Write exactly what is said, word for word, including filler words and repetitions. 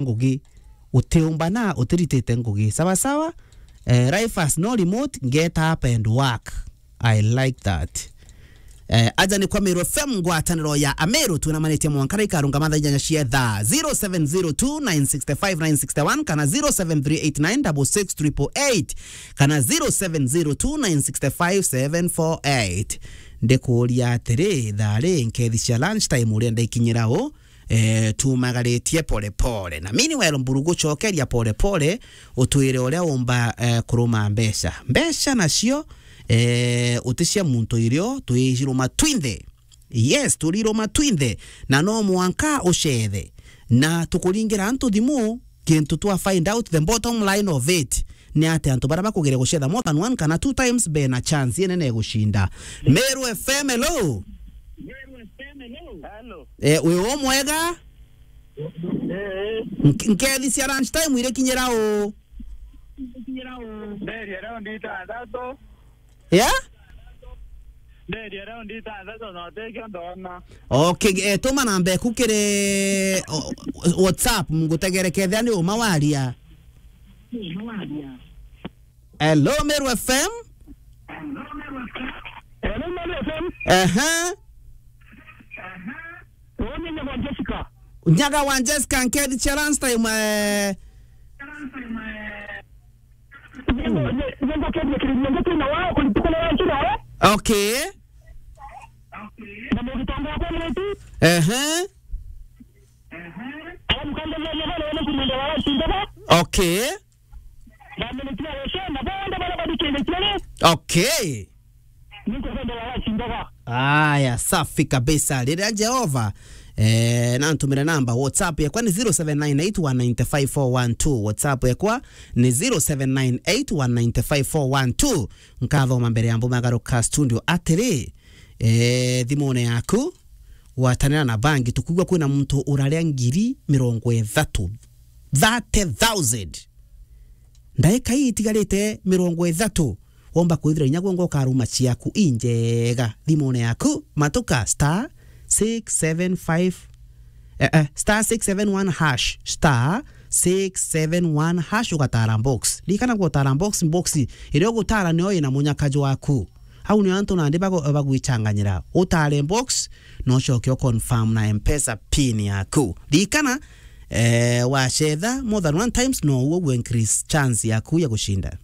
ngugi. Utiumba na utiritite ngugi. Sawa sawa? Eh, life has no remote, get up and work. I like that. Eh, aja ni kwa Meru F M, ngwataniro ya Ameru, twinamanitie mwanka ikarunga mathaa inyanya cia thaa. Zero seven zero two nine six five nine six one kana zero seven three eight nine six six triple eight kana zero seven zero two nine six five seven four eight. Ndikuuria atiri, thaa ri nkethi cia lunch time uria ndaikinyira u, eh, tumagaritie pole pole. Na meanwhile, Mburu, gucokeria pole pole, utwire uria umba, eh, kuruma mbeca. Mbeca nacio, eh, uti cia muntu irio, twiciruma twinthe. Yes, turiruma twinthe. Na no mwanka ucethe. Na tukuringira antu thimu, kintu twa find out the bottom line of it. Ni ati antu baria bakugire gucetha more than one kana two times bena chance inene ya gucinda. Meru F M, hello. Hello. Eh, wi u mwega? Eh. Nk-, nkethi cia lunch time irikinyira u? Nderia raundi itantatu. Yeah? Nderia raundi itantatu na utikio ndona. Okay, eh, tuma namba eku kiri, o, o, WhatsApp, ngutegere kethia ni uma waria. Hello, Meru F M? Hello, Meru F M? Aha. Uyu ni Nyaga wa Jessica. Nyaga wa Jessica, nkethi cia lunch time, eh. Ningo-, ni-, ningo kethia kiri, ningo kiri na wao, kuri tuko na wao kiri, eh? Okay. Na mugitanga kwa mwetu. Ehe. Ala mukanda mwa mwa wale kuri ndio wao sindaba. Okay. Na mimi pia wese, na bonde bala badikende kiri. Okay. Niko kwenda wala sindaba. Aya, safi kabisa. Riria Jehova, eh, nantumire namba, WhatsApp yakwa ni zero seven nine eight one nine five four one two. WhatsApp yakwa ni zero seven nine eight one nine five four one two. Nkathoma mbere ya mbumagaruka studio. Atiri, eh, thimune yaku, gwatanira na bangi, tukwigua kwina muntu uraria ngiri mirongo ithatu. Thirty thousand. Ndaika ii itigarite mirongo ithatu, womba kwithira inya gwe ngo ukaruma ciaku injega thimune yaku, matuka star six seven five, eh, eh, star six seven one hash, star six seven one hash, ugatara box. Ririkana gutara box, box iria ugutara niyo ina munyaka jwaku. Au nio antu nandi bago-, bagwichanganyira. Utare box, no ucoke u confirm na M-Pesa pin yaku. Ririkana, eh, wacetha more than one times, no uguo gu increase chance yaku ya gucinda.